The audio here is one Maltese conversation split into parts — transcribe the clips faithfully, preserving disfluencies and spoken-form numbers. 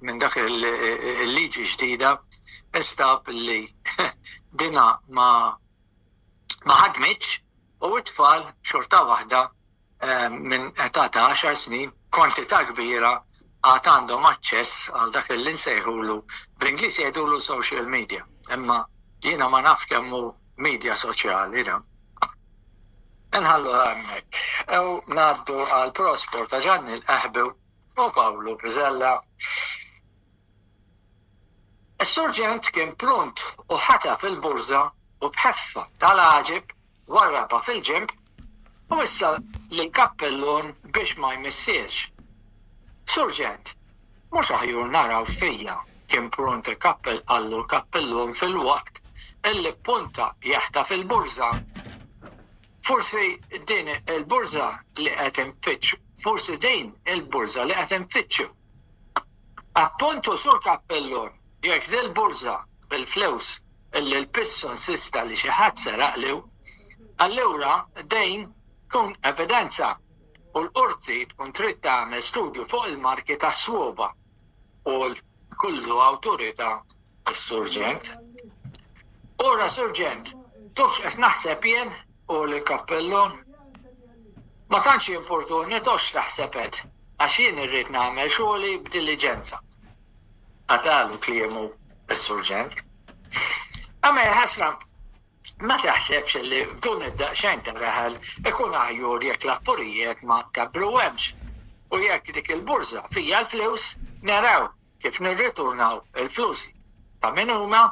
minn dak il-liġi ġdida, instab li dina ma ma ħadmitx u t-tfal xorta waħda eh, minn età ta' għaxar snin, kwantità kbira għad għandhom aċċess għal dak li nsejħulu, bl-Ingliż jgħidulu social media, imma jiena ma naf kemm hu media soċjali da. Nħallu hemmhekk. Ew ngħaddu għal Prosport ta' Ġanni l-Qehbu u Pawlu Piżella. Is-surġent kien pront u ħataf il-burża u b'ħeffa tal-għaġeb warrabha fil-ġenb u issa lill-kappellun biex ma jmissiex. Surġent, mhux aħjur naraw fija, kien pront il-kappell qallu l-kappellun filwaqt illi ppunta jaħtaf il-burża. Forsi din il-burża li qed infittxu, forsi din il-burża li qed infittxu. Appuntu sur kappellun, jekk dil-burża bil-flus illi l-pissu insista li xi ħadd seraqlu, allura din tkun evidenza u l-qorti tkun trid tagħmel studju fuq il-marki tas-swaba u l-kullu awtorità is-surġent. Ora surġent, tafx qed naħseb jien u l-kappellun? Ma tantx jimportuni tafx taħseb qed, għax jien irrid nagħmel xogħli b'diliġenza. Qatalu kliemu s-surġent. Imma ħasra, ma taħsebx li f'dun id-daqsxejn ta' raħal ikun aħjur jekk l-affarijiet ma kabruhemx u jekk dik il-burża fija l-flus naraw kif nirriturnaw il-flus ta' min huma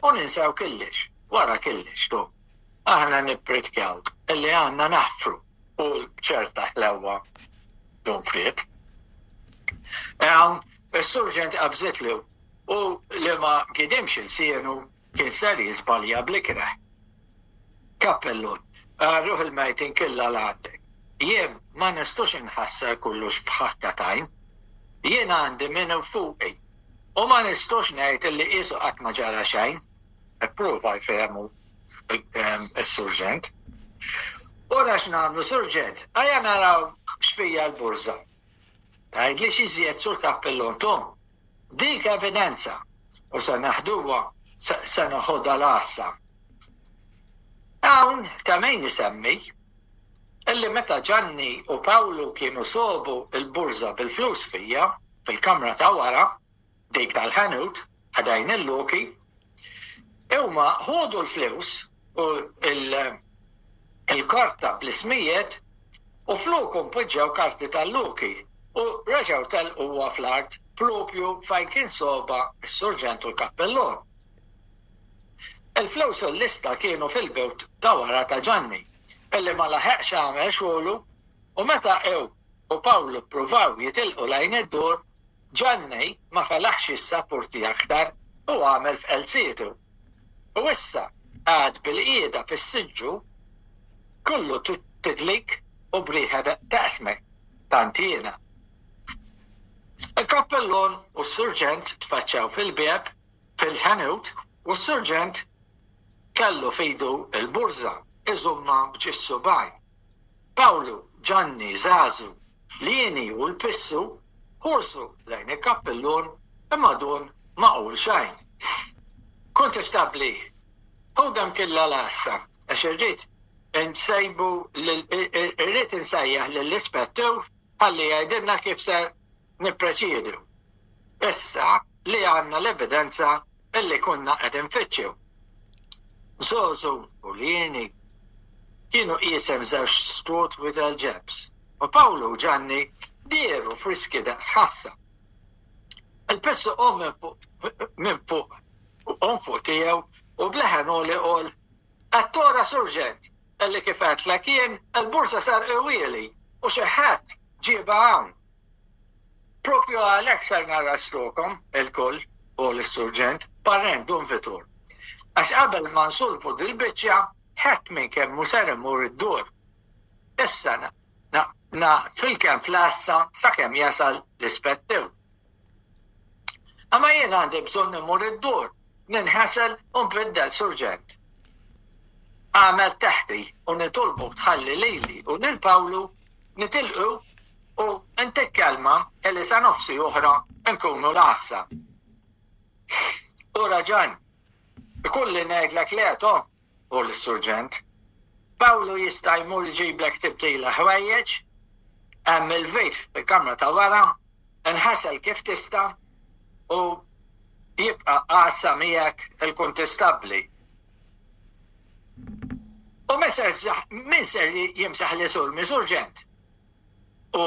u ninsew killix, wara killix tu. Aħna nippritkaw illi għandna naħfru u ċerta ħlewa dun friet. Hawn is-surġent qabżitlu u li ma gidimx il-sienu kien ser jiżbalja bl-ikreh. Kappellun, ruħ il-mejtin killa l-għandek. Jien ma nistux inħassar kullux f'ħakka tajn. Jien għandi minn fuqi. U ma nistux ngħid illi qisu qatt ma ġara xejn. Ipprova jfehmu is-surġent. Ora x'nagħmlu surġent, ejja naraw x'fija l-burża. Tgħidli x'iżjed sur kappellun tom. Dik evidenza u se naħduha se naħodha l-għassa. Hawn ta' min isemmi illi meta Ġanni u Pawlu kienu sobu il-burża bil-flus fija fil-kamra ta' wara, dik tal-ħanut, ħdejn il-loki, huma ħodu l-flus u il-karta bl-ismijiet u flokhom poġġew karti tal-loki u reġgħu telquha fl-art propju fejn kien soba s-surġent u l-kappellun. Il-flus u l-lista kienu fil-bewt ta' wara ta' Ġanni, illi ma laħeqx għamel xogħlu u meta ew u Pawlu ppruvaw jitilqu lejn id-dur, Ġanni ma felaħx jissapporti aktar u għamel f'qelzietu. U issa għad bil-qiegħda fis-siġġu kollu tidlik u briħa taqsmek tantina. Il-kappellun u s-surġent tfaċċaw fil-bieb fil-ħanut u s-surġent kellu fidu il-burża iżumma b'ġissu bajn. Pawlu, Ġanni, Zazu, Lieni u l-Pissu ħursu lejn il-kappellun imma dun ma qul xejn. Kontestabli, ħudem killa l-għassa, għax irrid insejbu irrid insejjaħ lill-ispettur ħalli jgħidilna kif ser nipproċedu. Issa li għandna l-evidenza illi konna qed infittxu. Zozu u Lieni kienu qisem żewġ strut with ġebs u Pawlu u Ġanni dieru friski daqs ħassa. Il-pissu qom minn fuq qom fuq tiegħu u bleħen u li qol Għattora surġent, illi kif għedtlek jien il-bursa sar iwieli u xi ħadd ġiebha hawn. Propju għalhekk ser narrastukom il-kull u l-surġent parent dun vitur. Għax qabel ma nsolvu dil-biċċa ħadd minn kemm mhu ser imur id-dur. Issa naqfilkem fl-għassa sakemm jasal l-ispettur. Imma jien għandi bżonn immur id-dur, ninħasel u nbiddel surġent. Għamel taħti u nitolbu tħalli lili u lil Pawlu nitilqu U intik kelma illi sa nofsi oħra nkunu l-għassa. Ura Ġan, ikolli ngħidlek le to, u l-surġent. Pawlu jista' jmur jġiblek tibdila ħwejjeġ, hemm il-vit fil-kamra ta' wara, inħasel kif tista' u jibqa' għassa miegħek il-kuntistabbli. U min ser jimsaħ li sur surġent? U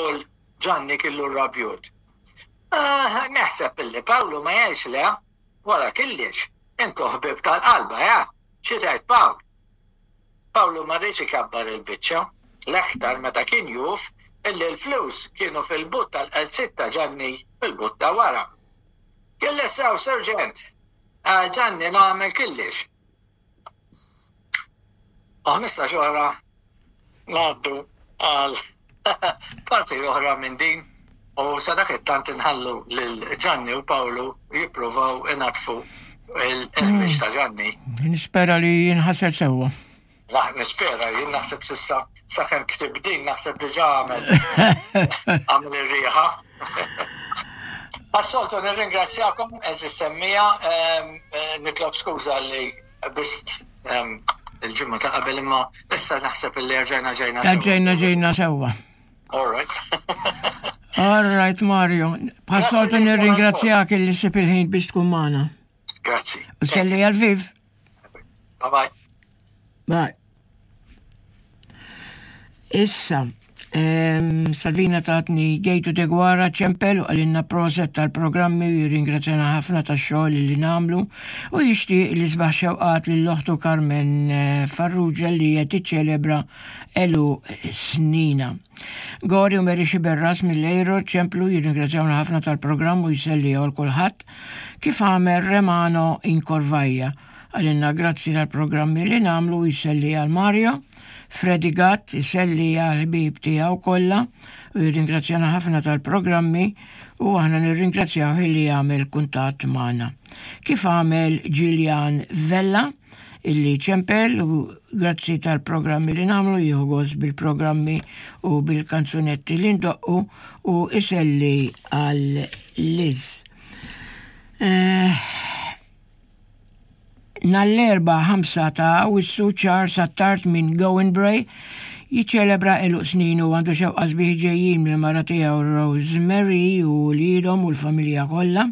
Ġanni kellu rabjut. Ah, naħseb illi Pawlu ma jgħix le, wara kellix, intu ħbib tal-qalba, ja? Xi tgħid Pawl? Pawlu ma riedx ikabbar il-biċċa, l-aktar meta kien juf illi l-flus kienu fil-but tal-qalziet ta' Ġanni fil-but ta' wara. Kelli sew, serġent, għal Ġanni nagħmel kellix. U ħmistax oħra ngħaddu għal parti oħra minn din u sa dak it-tant inħallu lil Ġanni u Pawlu jippruvaw inatfu il-ħmiġ ta' Ġanni. Nispera li jinħasel sewwa. Nispera, jien naħseb s'issa sakemm ktib din naħseb diġà għamel għamel ir-riħa. Għas-soltu nirringrazzjakom eżis semmija, nitlob skuża li bist il-ġimgħa ta' qabel imma issa naħseb li rġajna ġejna sewwa. Rġajna ġejna sewwa. All right. All right, Mario. Bħas-soltu nirringrazzjak li ssib il-ħin biex tkun magħna. Grazzi. U selli għal-Viv. Bye bye. Bye. Issa, um, Salvina tatni Gejtu Degwara ċempel u qalilna proset tal-programmi u jirringrazzjana ħafna tax-xogħol li nagħmlu u jixtieq li sbaħ xewqat lil oħtu Carmen eh, Farrugia li qed tiċċelebra għeluq snina. Gori u Mary Xiberras mill-Ejro ċemplu jirringrazzjawna ħafna tal-programm u jselli għal kulħadd kif għamel Remano Inkorvajja. Qalilna grazzi tal-programmi li nagħmlu jselli għal Mario, Freddy Gatt jselli għal ħbib tiegħu kollha u jirringrazzjana ħafna tal-programmi u aħna nirringrazzjaw li għamel kuntatt magħna. Kif għamel Gillian Vella illi ċempel u grazzi tal-programmi li nagħmlu jieħu gost bil-programmi u bil-kanzunetti li ndoqqu u iselli għal Liz. Eh, Nhar l-Erbgħa ħamsa ta' Awwissu Charles Attard minn Gowanbrae jiċċelebra għeluq snin u għandu xewqa sbieħ ġejjin mill-mara tiegħu Rosemary u wliedhom u l-familja kollha.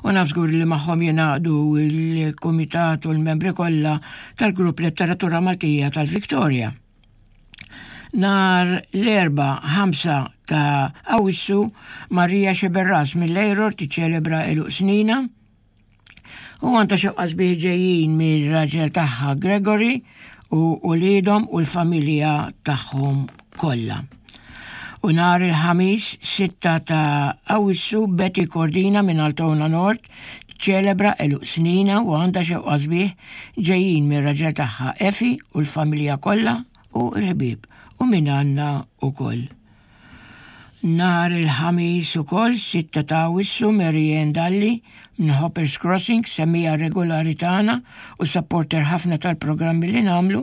U naf żgur li magħhom jingħaqdu il-kumitat u l-membri kollha tal-Grupp Letteratura Maltija tal-Victoria. Nhar l-Erbgħa ħamsa ta' Awwissu Maria Xeberras mill-Ejror tiċċelebra għeluq snina u għandha xewqa sbieħ ġejjin mir-raġel tagħha Gregory u uliedhom u l-familja tagħhom kollha. U nhar il-Ħamis sitta ta' Awwissu Betty Cordina minn Altona Nord ċelebra għeluq snina u għandha xewqa sbieħ ġejjin mir-raġel tagħha Efi u l-familja kollha u l-ħbieb u minn għandna ukoll. Nhar il-Ħamis ukoll sitta ta' Awwissu Marianne Dalli minn Hoppers Crossing semmija regolari tagħna u supporter ħafna tal-programmi li nagħmlu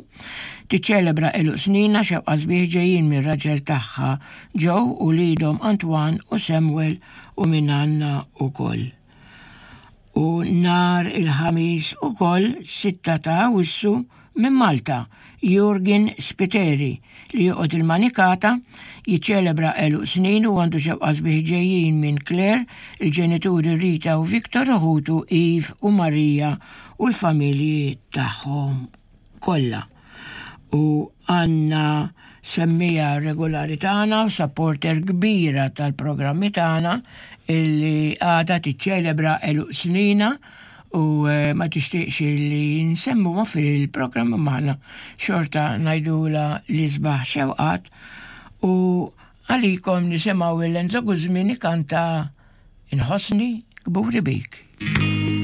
tiċċelebra għeluq snina xewqa sbieħ ġejjin mir-raġel tagħha Joe u wliedhom Antoine u Samuel u minn għandna ukoll. U nhar il-Ħamis ukoll sitta ta' Awwissu minn Malta Jurgen Spiteri li joqgħod il-Manikata jiċċelebra għeluq snin u għandu xewqa sbieħ ġejjin minn Claire, il-ġenituri Rita u Victor u ħutu Eve u Maria u l-familji tagħhom kollha. U għandna semmija regolari tagħna u supporter kbira tal-programmi tagħna illi għada tiċċelebra għeluq snina u eh, ma tixtieqx li nsemmuha fil-programm magħna xorta ngħidula l-isbaħ xewqat u għalikom nisimgħu il-Enzo Guzmin ikanta Inħossni kburi bik.